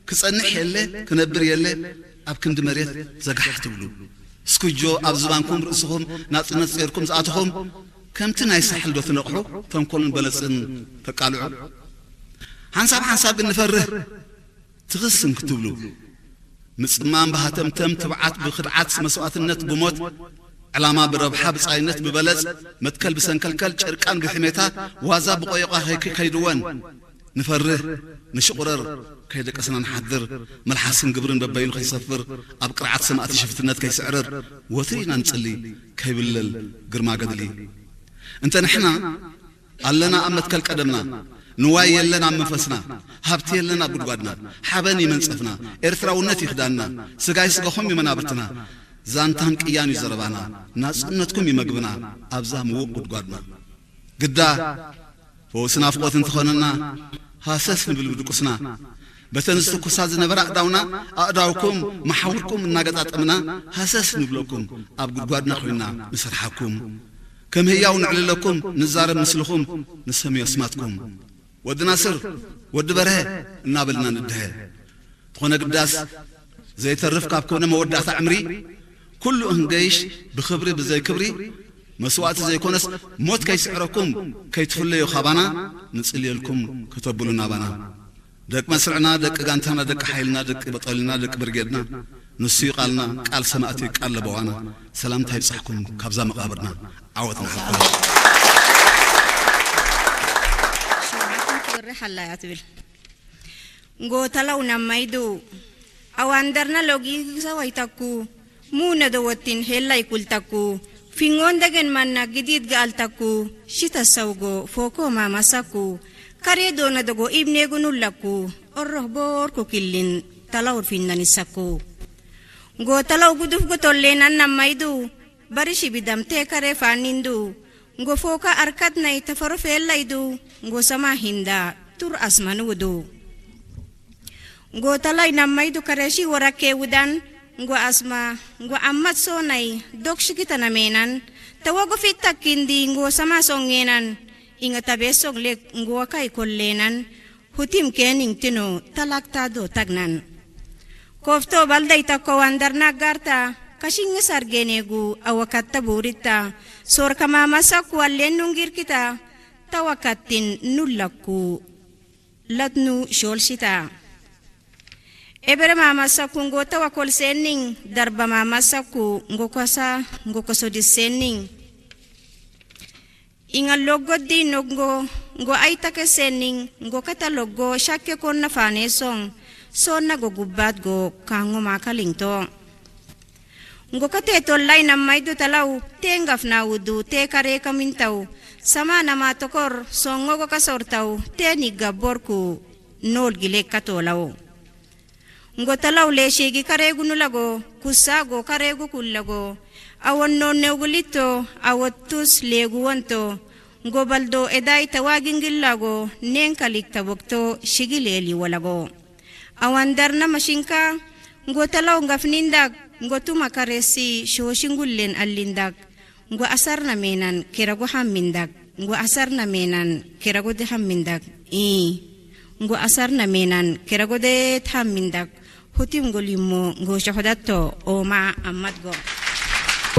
ክጸንሕ የለ ክነብር የለ ኣብ ክንዲ መሬት ዘጋሕ ትብሉ፣ ስኩጆ ኣብ ዝባንኩም ርእስኹም ናጽነት ጼርኩም ዝኣትኹም፣ ከምቲ ናይ ሳሕል ዶ ትነቕሑ ተንኮልን በለጽን ተቃልዑ? ሓንሳብ ሓንሳብ ግን ንፈርህ ትኽስን ክትብሉ፣ ምጽማም ብሃተምተም ትብዓት ብኽድዓት መስዋእትነት ብሞት ዕላማ ብረብሓ ብጻይነት ብበለጽ መትከል ብሰንከልከል ጭርቃን ብሕሜታ ዋዛ ብቆየቋ ከይክ ከይድወን ንፈርህ ንሽቑረር ከይደቀስና ንሓድር፣ መልሓስን ግብርን በበይኑ ከይሰፍር ኣብ ቅርዓት ሰማእቲ ሽፍትነት ከይስዕርር ወትሪ ኢና ንጽሊ ከይብለል ግርማ ገድሊ። እንተ ንሕና ኣለና ኣብ መትከል ቀደምና፣ ንዋይ የለን ኣብ መንፈስና፣ ሃብቲ የለን ኣብ ጉድጓድና፣ ሓበን ይመንጸፍና፣ ኤርትራውነት ይኽዳንና፣ ስጋይ ስጋኹም ይመናብርትና፣ ዛንታን ቅያን እዩ ዘረባና፣ ናጽነትኩም ይመግብና ኣብዛ ምውቕ ጉድጓድና። ግዳ ፈውሲ ናፍቆት እንተኾነና ሃሰስ ንብል ብድቁስና፣ በተን ዝትኩሳ ዝነበራ ኣእዳውና ኣእዳውኩም መሓውርኩም እናገጣጠምና ሃሰስ ንብለኩም ኣብ ጉድጓድና ኮይና ንሰርሓኩም። ከም ህያው ንዕልለኩም ንዛረብ ምስልኹም ንሰምዮ ኣስማትኩም። ወዲ ናስር ወዲ በርሀ እናበልና ንድሀ። ዝኾነ ግዳስ ዘይተርፍ ካብ ኮነ መወዳእታ ዕምሪ ኩሉ እንገይሽ ብኽብሪ ብዘይ ክብሪ መስዋእቲ ዘይኮነስ ሞት ከይስዕረኩም ከይትፍለዩ ካባና ንጽልየልኩም ከተብሉ ናባና። ደቂ መስርዕና ደቂ ጋንታና ደቂ ሓይልና ደቂ በጠልና ደቂ ብርጌድና ንሱ እዩ ቃልና ቃል ሰማእቲ ቃል ለበዋና። ሰላምታ ይብጻሕኩም ካብዛ መቓብርና። ዓወት ንሓፋሽ። ሸውዓተን ክብሪ ሓላያ ትብል። ጎተላው ናማይዱ ኣዋንደርና ሎጊ ሰዋይታኩ፣ ሙነደወቲን ሄላይ ኩልታኩ፣ ፊንጎን ደገን ማና ግዲድ ገኣልታኩ፣ ሽተሰውጎ ፎኮ ማማሳኩ፣ ከሬዶ ነደጎ ኢብኔጉኑላኩ፣ ኦሮህ ቦርኩ ኪልን ተላውር ፊናኒሳኩ። ጎተላው ጉዱፍ ጎቶሌናን ናማይዱ፣ በርሺ ቢዳም ቴከሬ ፋኒንዱ፣ ጎፎካ ኣርካት ናይ ተፈሮ ፌላይዱ፣ ጎሰማ ሂንዳ ቱር ኣስማን ውዱ። ጎተላይ ናማይዱ ከረሺ ወራኬ ውዳን፣ ጎ ኣስማ፣ ጎ ኣማት ሶናይ ዶክሽጊ ተነሜናን፣ ተወጎፊት ታኪንዲ ጎሰማ ሶንጌናን፣ ኢንገ ተቤሶግ ሌክ ጎወካይ ኮሌናን፣ ሁቲም ኬኒንግ ትኖ ተላክታዶ ተግናን። ኮፍቶ ባልዳይ ተኮ ዋንደርና ጋርታ፣ ከሽኝ ሳርጌኔጉ ኣወካተ ቡሪታ፣ ሶር ከማማሳኩ ኣሌኑን ጊርኪታ፣ ተወካቲን ኑለኩ ለትኑ ሾልሲታ። ኤበረ ማማሳኩ ንጎ ተወኮል ሴኒን፣ ደርበ ማማሳኩ ንጎ ኮሳ ንጎ ኮሶዲስ ሴኒን። Inga loggo di noggo ngo aitake sening ngo kata loggo shakke konna fane song sonna go gubbat go kango makaling to. Ngo kate tollai namaidu talau te ngafna udu te kare kamintau sama nama tokor songo go kasortau te nigga borku nol gile katolau. Ngo talaw leshigi karegu nulago, kusago karegu kullago, awon nonnewgu litto, awottus legu wonto, ngo baldo edai tawagingillago, nenkalik tabokto shigi leli walago. Awan darna mashinka, ngo talaw ngafnindak, ngo tuma karesi shoshingullen allindak. Ngo asarna menan kerago hammindak. Ngo asarna menan kerago de hammindak. I. Ngo asarna menan kerago de hammindak. Hutim ngo limo ngo shohodatto oma ammat go.